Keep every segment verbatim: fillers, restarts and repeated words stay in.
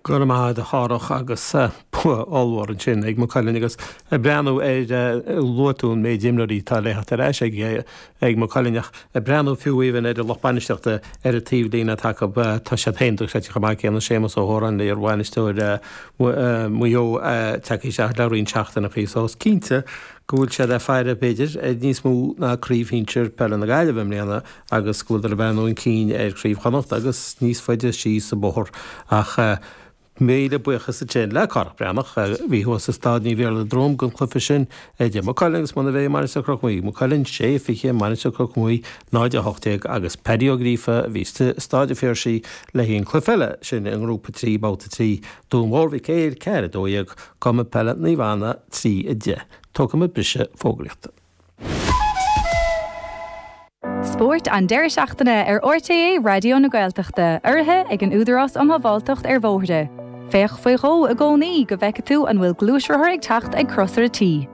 Go raibh maith agat a Chárthach agus bua ollmhór ansin ag Maigh Cuilinn agus ag breathnú ar luaigh tú an méid imreoirí atá le theacht ar ais ag ag Maigh Cuilinn ach ag breathnú fiú even ar an lucht bainistíochta ar an taobhlíne atá acu tá siad féin dochreidte chomh maith céanna Séamus Ó hÓráin iar-bhainisteoir Mhaigh Eo tagtha isteach le roinnt seachtaineacha so is cinnte go bhfuil siad ag faire b'fhéidir ar níos mó ná craobh shinsir peile na Gaillimhe i mbliana agus go bhfuil ag breathnú chun cinn ar chraobh Chonnacht agus níos faide síos sa bóthar ach míle buíochas ansin le Cárthach Breathnach a bhí thuas i Staid Naomh Iarlaith Druim don chluiche sin idir Maigh Cuilinn agus Monabhey Mainistir Chnoc Muaidhe. Maigh Cuilinn sé fiche Mainistir Chnoc Muaidhe náid a hocht déag agus Paddy Ó Gríofa a bhí sa Staid an Phiarsaigh le haghaidh an cluiche eile sin i ngrúpa trí babhta trí Dún Mór Mhic Éil ceathair a dó dhéag Cumann Peile Naomh Anna trí a deich. Tógfaidh muid briseadh fógraíochta. Spórt an deireadh seachtaine ar RTÉ Raidió na Gaeltachta, urraithe ag an Údarás um Shábháilteacht ar Bhóithre. Féach faoi dhó i gcónaí go bhfeice tú an bhfuil gluaisrothar ag teacht ag crosaire tí.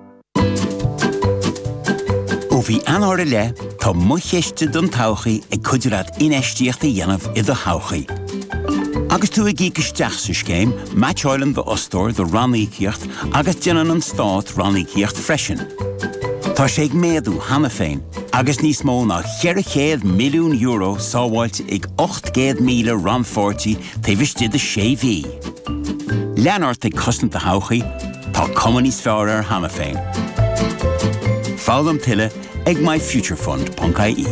Ó mhí Eanáir i leith tá Mo Chiste don Todhchaí ag cuidiú leat infheistíocht a dhéanamh i do thodhchaí. Agus tú ag íoc isteach sa scéim, meaitseálann d'fhostóir do ranníocaíocht agus déanann an stát ranníocaíocht freisin. Tá sé ag méadú cheana féin, agus níos mó ná ceithre chéad milliún euro sábháilte ag ocht gcéad míle rannpháirtí taobh istigh de sé mhí. Lean ort ag cosaint do thodhchaí, tá cuma níos fearr air cheana féin. Foghlaim tuilleadh ag myfuturefund.ie.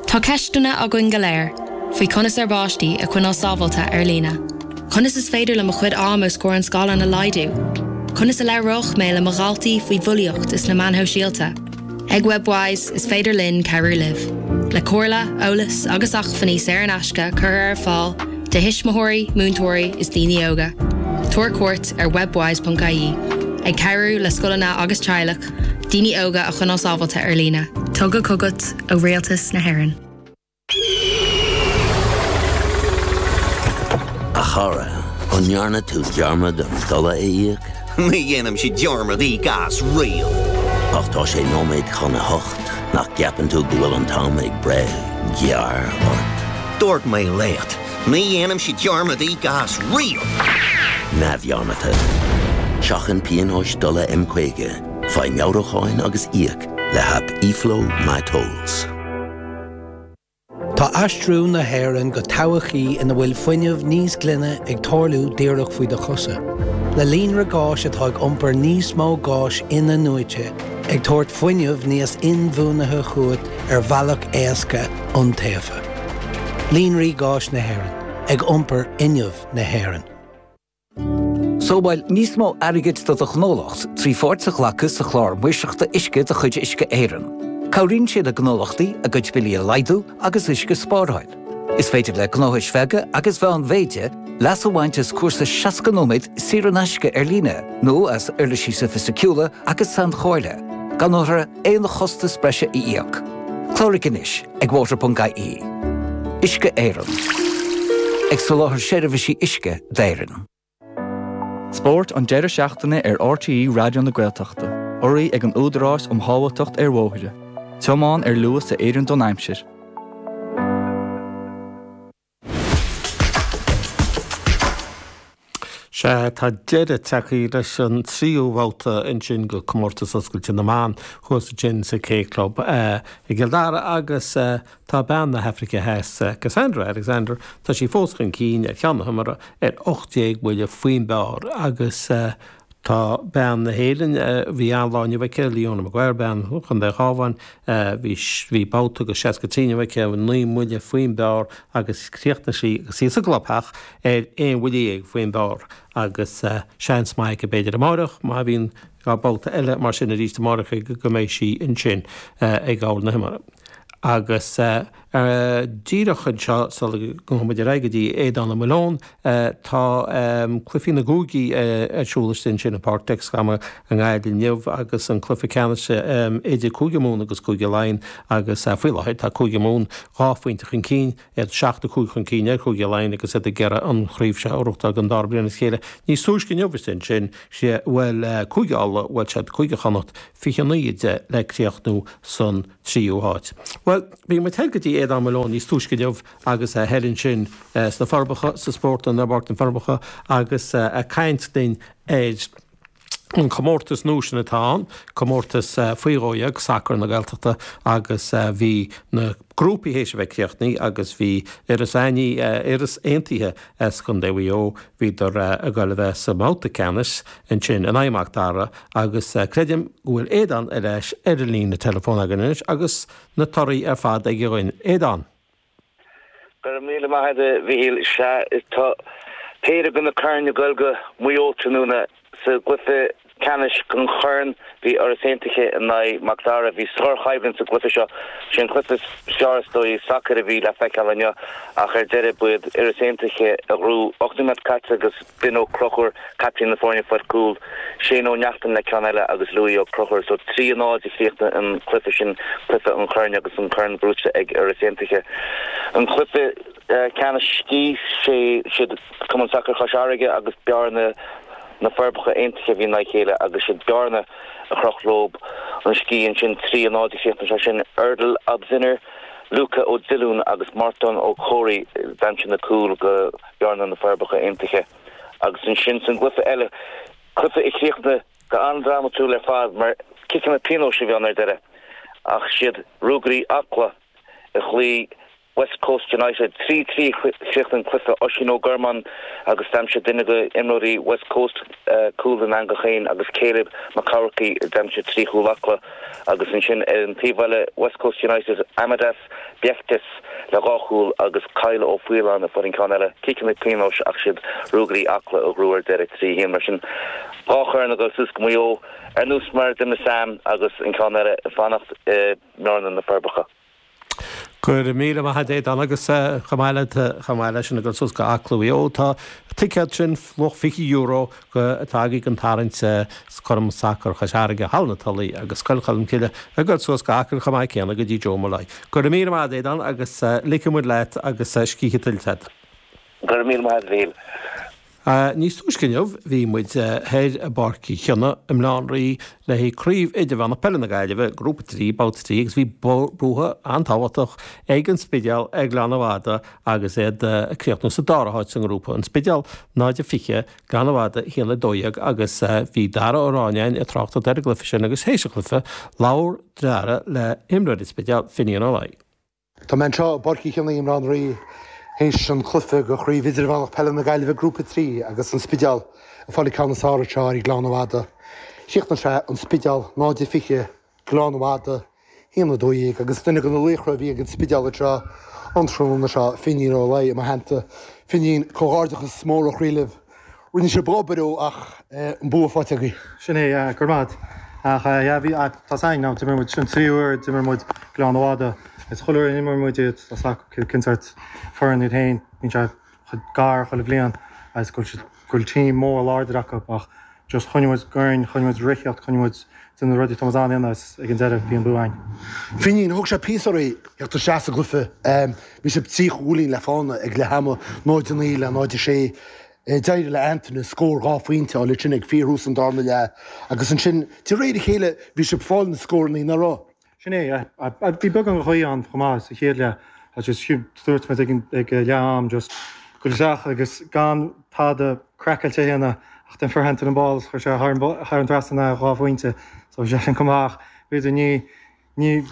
Tá ceisteanna againn go léir faoi conas ár bpáistí a choinneáil sábháilte ar líne. Conas is féidir liom mo chuid ama os comhair an scáileáin a laghdú? Conas a labhróidh mé le mo dhaltaí faoi bhulaíocht is na meáin shóisialta? Ag Webwise is féidir linn cabhrú libh. Le comhairle, eolas agus acmhainní saor in aisce curtha ar fáil do thuismitheoirí, múinteoirí is daoine óga. Tabhair cuairt ar webwise.ie, ag cabhrú le scoileanna agus teaghlaigh, daoine óga a choinneáil sábháilte ar líne. Tugtha chugat ó Rialtas na hÉireann. A chara, an ndearna tú dearmad an dola a íoc? Ní dhéanaimse dearmad íoc as riamh. Ach tá sé nóiméad chun a hocht nach gceapann tú go bhfuil an t-am ag breith gearr ort. Dúirt mé leat, ní dhéanaimse dearmad íoc as riamh. Neamhdhearmadta. Seachain pionóis dola M caoga, faigh meabhrúcháin agus íoc le haip eFlow MyTolls. Tá aistriú na hÉireann go todhchaí ina bhfuil fuinneamh níos glaine ag tarlú díreach faoi do chosa. Le líonra gáis atá ag iompar níos mó gáis in-athnuaite, ag tabhairt fuinneamh níos inbhuanaithe chugat ar bhealach éasca iontaofa. Líonraí gáis na hÉireann, ag iompar fhuinneamh na hÉireann. Sábháil níos mó airgid do do ghnólacht trí pháirt a ghlacadh sa chlár maoirseachta uisce de chuid Uisce Éireann. Cabhraíonn sé le gnólachtaí a gcuid billí a laghdú agus uisce a spáráil. Is féidir le gnóthais bheaga agus mheánmhéide leas a bhaint as cúrsa seasca nóiméad saor in aisce ar líne nó as uirlisí sofaisticiúla agus sainchomhairle, gan orthu aon chostas breise a íoc. Cláraigh anois ag water.ie. Uisce Éireann. Ag soláthar seirbhísí uisce d'Éirinn. Spórt an deireadh seachtaine ar RTÉ Raidió na Gaeltachta, urraithe ag an Údarás um Shábháilteacht ar Bhóithre. Tiomáin ar luas a oireann don aimsir. Sea, tá deireadh tagtha leis an tríú babhta ansin de Comórtas Oscailte na mBan thuas ansin sa K Club i gCill Dara agus tá bean na hAfraice Theas, Cassandra Alexander, tá sí fós chun cinn ar cheann na himeartha ar ocht déag buille faoin bpar agus tá bean na hÉireann, bhí an-lá inniu aici, Leona Maguire, bean Chontae an Chabháin, bhí bhí babhta de seasca trí inniu aici, naoi mbuille faoin bpar agus chríochnaigh sí agus í sa gclubtheach ar aon bhuille dhéag faoin bpar agus seans maith aici b'fhéidir amárach má bhíonn dhá babhta eile mar sin arís amárach go mbeidh sí ansin ag gabháil na himeartha. Agus díreach anseo sula ngabhfaidh muid ar aghaidh go dtí Aodán Ó Muilleoin, tá cluichí na gcúigí ar siúl istigh ansin i bPáirc Dexcom i nGaillimh inniu agus an cluiche ceannais idir Cúige Mumhan agus Cúige Laighean agus faoi láthair tá Cúige Mumhan dhá phointe chun cinn, iad seacht a cúig chun cinn ar Chúige Laighean agus iad ag iarraidh an chraobh seo a ghnóthachtáil don dara bliain as a chéile. Níos túisce inniu istigh ansin, bhuail Cúige Uladh, bhuail siad Cúige Chonnacht fiche a naoi a deich le críochnú san tríú háit. Bhuel, bhí muid thoir go dtí Aodán Malone níos túisce inniu agus é thoir ansin sna Forbacha, sa Spórtlann ar Pháirc na Forbacha agus ag caint linn ar an comórtas nua sin atá ann, comórtas faoi dhó dhéag, sacar na Gaeltachta agus bhí na grúpaí théis a bheith críochnaithe agus bhí Iorras Aithnigh, Iorras Aontaithe as Contae Mhaigh Eo, bhíodar ag dul a bheith sa mbabhta ceannais ansin in aghaidh Mac Dara agus creidim go bhfuil Aodán ar ais ar an líne teileafóin againn anois agus na torthaí ar fad aige dhúinn. Aodán. Go raibh míle maith agat a Mhichíl. Sea, tá péire de na coirn ag dul go Maigh Eo tráthnóna. Sa gcluiche ceannais den chorn, bhí Iorras Aontaithe in aghaidh Mac Dara. Bhí sárchoimhlint sa gcluiche seo. Sé an cluiche is fearr is dóigh sacair a bhí le feiceáil inniu ach ar deireadh ba iad Iorras Aontaithe a ghnóthaigh. Ocht nóiméad caite agus Ben Ó Conchúir, captaen na foirne, fuair cúl. Shane Ó Neachtain le ceann eile agus Louis Ó Conchúir. So trí a náid a chríochnaigh an cluiche sin, cluiche an choirn agus an corn gnóthaithe ag Iorras Aontaithe. An cluiche ceannais C, sé siad Cumann Sacair Chois Fharraige agus Bearna, Na Forbacha Aontaithe a bhí in aghaidh a chéile agus siad Bearna a chroch leo an sciath ansin. Trí a náid a chríochnaigh sé sin. Erdal Obziner, Luca Ó Dillúin agus Mártan Ó Comhraí a d'aimsigh na cúil go Bearna Na Forbacha Aontaithe. Agus ansin san gcluiche eile, cluiche a chríochnaigh go an-drámatúil ar fad mar ciceanna pionóis a bhí ann ar deireadh ach siad Ruagairí Acla a chloígh West Coast United. Trí trí a chríochnaigh an cluiche. Oisín Ó Gormáin agus d'aimsigh duine de imreoirí West Coast cúl don eangach féin agus Caleb Mac Eamharcaigh a d'aimsigh trí chúl Acla agus ansin ar an taobh eile West Coast United Amadas Beichtis le dhá chúl agus Kyle Ó Faoláin a fuair an ceann eile. Ciceanna pionóis ach siad Ruagairí Acla a ghnóthaigh ar deireadh trí a haon. Mar sin dhá chorn ag dul suas go Maigh Eo ar nós mar a d'imir Sam agus an ceann eile ag fanacht i mBearna na Forbacha. Go raibh míle maith agat Aodán agus chomh maith le chomh maith leis sin ag dul suas go Acla Mhaigh Eo tá ticéad sin luach fiche euro go atá againn don tarraingt sa Cumann Sacair Chois Fharraige, Halla na Tulaí agus Scoil Cholmcille ag dul suas go Acaill chomh maith céanna go dtí Joe Molloy. Go raibh míle maith agat Aodán agus ligfidh muid leat agus scíth tuillte agat. Go raibh míle maith agat a Mhichíl. Níos túisce inniu bhí muid thoir i bPáirc Uí Chionnaith i mBaile Átha an Rí le haghaidh Craobh Idirmheánach Peile na Gaillimhe, Grúpa trí, Babhta trí agus bhí bua an-tábhachtach ag an Spidéal ar Ghleann Fhada agus iad ag críochnú sa dara háit sa ngrúpa. An Spidéal náid a fiche, Gleann Fhada a haon a dó dhéag agus bhí Dara Ó Ráineáin ag tráchtaireacht ar an gcluiche sin agus théis an chluiche labhair Dara le himreoir an Spidéil, Finian Ó Laoi. Tá mé anseo i bPáirc Uí Chionnaith i mBaile Átha an Rí théis an chluiche de Chraobh Idirmheánach Peile na Gaillimhe Grúpa trí agus an Spidéal ag fáil an ceann is fearr anseo ar Ghleann Fhada. Chríochnaigh sé an Spidéal náid a fiche, Gleann Fhada a haon a dó dhéag agus duine de na laochra a bhí ag an Spidéal anseo an tráthnóna seo, Finian Ó Laoi i mo theannta. Finian, comhghairdeachas mór ó chroí libh. Rinne sibh obair ó ach an bua faighte agaibh. Sin é, yeah, go raibh maith agat. Ach yeah, bhí, tá 's againn now, d'imir muid, sin tríú uair d'imir muid Gleann Fhada. Is chuile uair a imir muid iad, tá 's acu cén sórt foireann iad féin, bíonn sé gar chuile bhliain agus go bhfuil siad, go bhfuil team mór láidir acu ach just choinnigh muid orainn, choinnigh muid ag ritheacht, choinnigh muid déanamh na rudaí atá muid in ann a dhéanamh agus ag an deireadh bhí an bua againn. Finian, thóg sé píosa oraibh theacht isteach sa gcluiche. Bhí sibh trí chúilín le fána ag leath ama, náid a naoi le náid a sé. D'éirigh le Anthony scór dhá phointe a fháil ansin ag fíorthús an darna leath agus ansin de réir a chéile bhí sibh ag fáil na scóranna, nach raibh? Sin é, bhí beagán de ghaoth ann chomh maith sa chéad leath just dúirt muid ag leath am just goil isteach agus gan tada craiceáilte a dhéanamh ach then fuair Anthony an ball chuir sé thar an trasnán é dhá phointe so bhí sé sin chomh maith ach b'fhéidir ní Ní,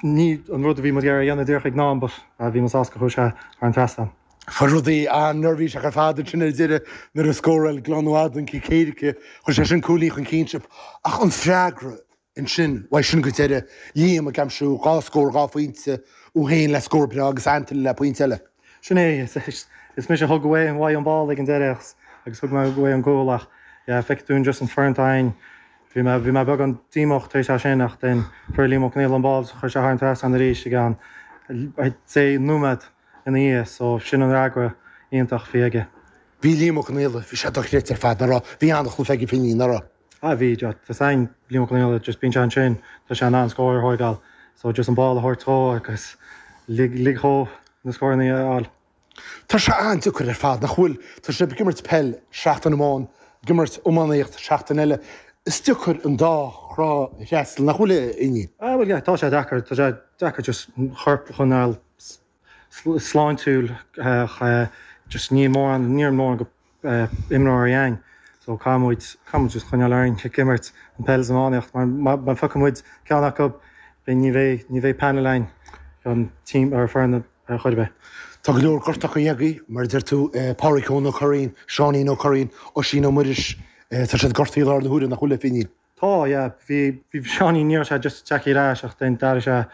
ní an rud a bhí muid ag iarraidh a dhéanamh díreach ag an am but bhí mé sásta gur chuaigh sé thar an trasnán. Fuair rudaí an-neirbhíseach ar fad ansin ar deireadh nuair a scóráil Gleann Fhada an cic éirice, chuir sé sin cúilín chun cinn sibh. Ach an freagra ansin, uaidh sin go deireadh, Liam ag aimsiú dhá scór dhá phointe, thú féin le scór breá agus Anthony le pointe eile. Sin é, is mise a thug uaidh an ball ag an deireadh agus thug mé uaidh an cúl ach yeah feicfidh tú just an foireann atá againn. Bhí mé bhí mé beagán díomách tar éis é sin ach then fuair Liam Ó Conghaile an ball chuir sé thar an trasnán arís i gceann deich nóiméad ina dhiaidh so sin an fhreagra iontach a bhí aige. Bhí Liam Ó Conghaile, bhí sé dochreidte ar fad, nach raibh? Bhí an-chluiche aige Finian, nach raibh? Ah bhí, tá 's againn Liam Ó Conghaile just bíonn sé ansin, tá sé in ann scór a thóigeáil so just an ball a thabhairt dhó agus lig lig dhó na scóranna a fháil. Tá sé an-deacair ar fad, nach bhfuil? Tá sibh ag imirt peil seachtain amháin, ag imirt iománaíocht seachtain eile. Is deacair an dá thrá a fhreastal, nach bhfuil, a Fhinian? Ah bhuel yeah, tá sé deacair, tá sé deacair just an corp a choinneáil sláintiúil ach just níl mórán níl mórán imreoirí againn. So caithfidh muid caithfidh muid just coinneáil orainn ag imirt an peil is iománaíocht mar má phiocann muid ceann acu beidh ní bheidh ní bheidh panel againn an team ar foireann ar chor ar bith. Tá go leor gortacha agaibh, mar a deir tú, Pádraic Eoin Ó Curraoin, Seáinín Ó Curraoin, Oisín Ó Muiris, tá siad gortaithe i láthair na huaire, nach bhfuil, a Fhínín? Tá, yeah. Bhí bhí Seáinín ní raibh sé just tagtha ar ais ach then d'athraigh sé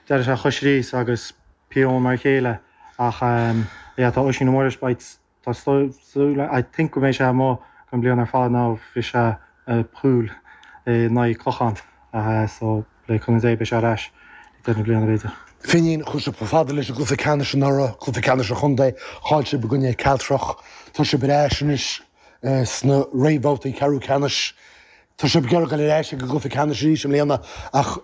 d'athraigh sé a chois arís agus P. Eoin mar a chéile ach yeah tá Oisín Ó Muiris beidh tá súil I think go mbeidh sé amuigh don bliain ar fad now bhris sé a shúil in aghaidh Clochán so le cúnamh Dé beidh sé ar ais ag deireadh na bliana b'fhéidir. Finín, Chuaigh sibh chomh fada leis an gcluiche ceannais anuraidh, cluiche ceannais an chontae, chaill sibh i gcoinne Cealtrach. Tá sibh ar ais anois sna réamhbhabhtaí ceathrú ceannais. Tá sibh ag iarraidh dul ar ais ag an gcluiche ceannais arís i mbliana ach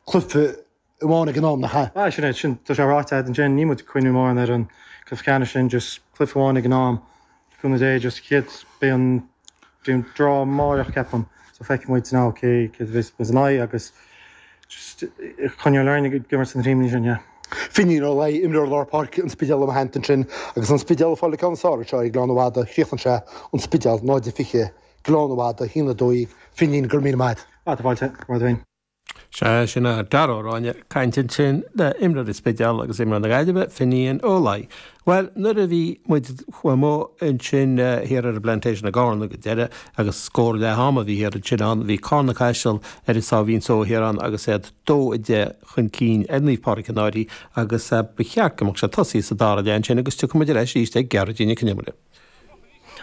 cluiche amháin ag an am, nach ea? Ah, sin é, sin, tá sé ráite agat ansin, níl muid ag cuimhniú mórán ar an gcluiche ceannais sin, just cluiche amháin ag an am. Le cúnamh Dé, just chéad, beidh an, beidh an draw amárach ceapaim, so feicfidh muid now cé, cé a bheas in aghaidh agus just coinneáil orainn ag imirt sna tímeanna sin, yeah. Finín Ó Laoi, imreoir lár páirce an Spidéil i mo theannta ansin agus an Spidéal ag fáil an ceann is fearr anseo ag Gleann Fhada, chríochnaigh sé an Spidéal náid a fiche, Gleann Fhada, a haon a dó dhéag, Finín, go raibh míle maith agat. Ah, tá fáilte, go raibh féin. Sea, sin é Dara Ó Ráinne ag caint ansin le imreoir an Spidéil agus imreoir na Gaillimhe, Finian Ó Laoi. Bhuel, nuair a bhí muid amuigh ansin thiar ar an bPlantation i gCarna go deireadh agus scór leath ama a bhí thiar ansin ann, bhí Carna Caiseal ar an sáimhín só thiar ann agus iad dó a deich chun cinn ar Naomh Pádraig an Fhairche agus ba cheart go mbeadh sé tosaithe sa dara leath ansin agus tiocfaidh muid ar ais arís ag Gearóidín Nic Con Iomaire.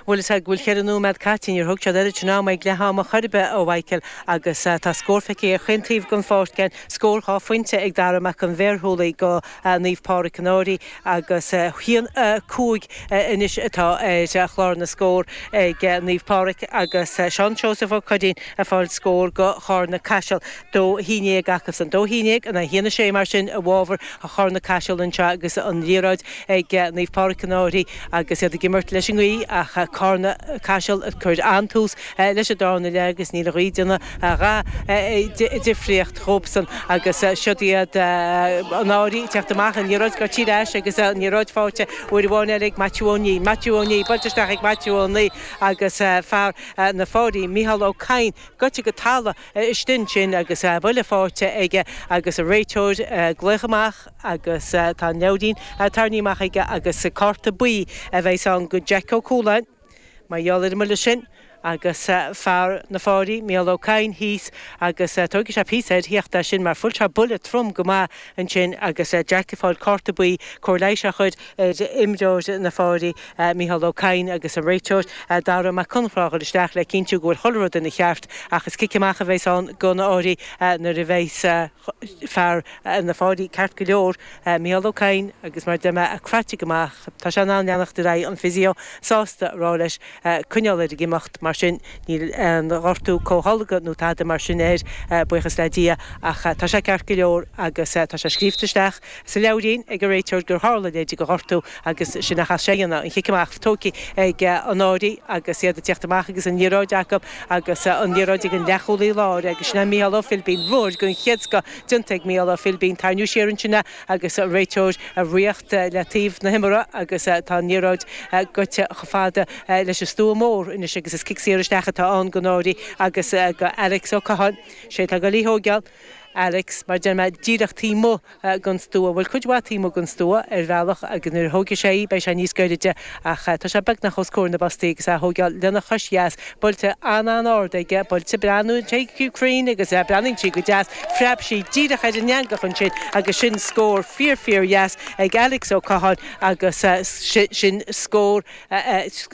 Bhuel is ea go bhfuil ceithre nóiméad caite, níor thug siad oiread sin ama ag leath ama chor ar bith, a Mhichael, agus tá scór feicthe ar chaon taobh den pháirc again, scór dhá phointe ag Dara Mac an Bhéarshúlaigh go Naomh Pádraig an Fhairche agus haon cúig anois atá ar chlár na scór ag Naomh Pádraig agus Seán Seosamh Ó Curraoin ag fáil scór go Charna Caiseal. Dó haon déag acusan. Dó haon déag in aghaidh haon a sé mar sin i bhfabhar Charna Caiseal anseo agus an liathróid ag Naomh Pádraig an Fhairche agus iad ag imirt leis an ngaoth ach Carna Caiseal ag cur an-tús leis an darna leath agus níl an ghaoth ag déanamh a dhath difríocht dhóibhsan agus siod iad an Fhairche ag teacht amach an liathróid gaibhte ar ais agus an liathróid faighte uair amháin eile ag Maitiú Ó Ní. Maitiú Ó Ní buailte isteach ag Maitiú Ó Ní agus fear na Fáirí, Mícheál Ó Cadhain, goite go talamh istigh ansin agus buille faighte aige agus an réiteoir ag glaoch amach agus tá an leabhairín tarraingthe amach aige agus cárta buí a bheas ann go Jack Ó Cualáin mar gheall ar an mbuille sin agus fear na Fáirí, Mícheál Ó Cadhain, thíos agus tógfaidh sé píosa air theacht as sin mar fuair sé buille trom go maith ansin agus Jack ag fáil cárta buí, cóir leighis á chur ar imreoir na Fáirí, Mícheál Ó Cadhain agus an réiteoir Dara Mac Conchra a dhul isteach le cinntiú go bhfuil chuile rud ina cheart ach is cic amach a bheas ann don Fhairche nuair a bheas fear na Fáirí ceart go leor, Mícheál Ó Cadhain agus mar a deir mé craite go maith tá sé in ann leanacht ar aghaidh an physio sásta a rá leis coinneáil air ag imeacht mar sin níl aon ghortú chomh holc nó tada mar sin air, buíochas le Dia, ach tá sé ceart go leor agus tá sé scríobhta isteach sa leabhairín ag an réiteoir gur tharla leithéid de ghortú agus sin a chaithfidh sé a dhéanamh, an chic amach tógtha ag an Fhairche agus iad ag tíocht amach agus an liathróid acu agus an liathróid ag an leathchúlaí láir agus sin é Mícheál Ó Philbín, ruathar den chéad scoth déanta ag Mícheál Ó Philbín, tarraingíodh siar ansin é agus an réiteoir ag ritheacht le taobh na himeartha agus tá an liathróid goite chomh fada leis an stua mór anois agus is cic saor isteach atá ann don Fhairche agus go Alex Ó Catháin. Sé atá ag dul í thóigeáil. Alex, mar deir mé, díreach taobh amuigh den stua, bhuel cuid mhaith taobh amuigh den stua ar bhealach agus nuair a thógfaidh sé í beidh sé níos gairide ach tá sé beagnach os comhair na bpostaí agus é a thóigeáil lena chois dheas, buailte an-an-ard aige, buailte breathnaíonn sé cruinn agus breathnaíonn sí go deas, phreab sí díreach ar an eangach ansin agus sin scór fíor fíor dheas ag Alex Ó Catháin agus sin scór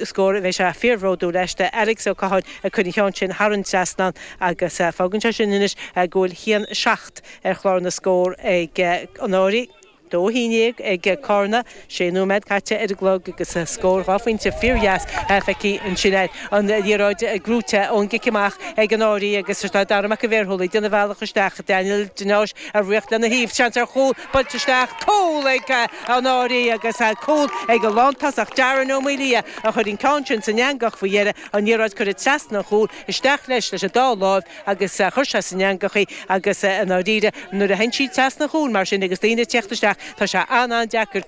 scór a bheidh sé fíorbhródúil leis de Alex Ó Catháin ag cur an cheann sin thar an trasnán agus fágann sé sin anois go bhfuil haon seacht ar chlár na scór ag an Fhairche, dó a haon déag ag Carna, sé nóiméad caite ar an gclog agus scór dhá phointe fíordheas feicthe ansin air. An liathróid gnóite ón gcic amach ag an Fhairche agus tá Dara Mac an Bhéarshúlaigh ag déanamh a bhealach isteach, Daniel de Náis ag ritheacht lena thaobh, seans ar chúl, buailte isteach, cúl ag an Fhairche agus cúl ag an lántosach Darren Ó Maolaodha a chuir an ceann sin san eangach faoi dheireadh, an liathróid curtha trasna an chúil, isteach leis leis an dá láimh agus chuir sé san eangach í agus i ndáiríre nuair a théann sí trasna an chúil mar sin agus daoine ag teacht isteach tá sé an-an-deacair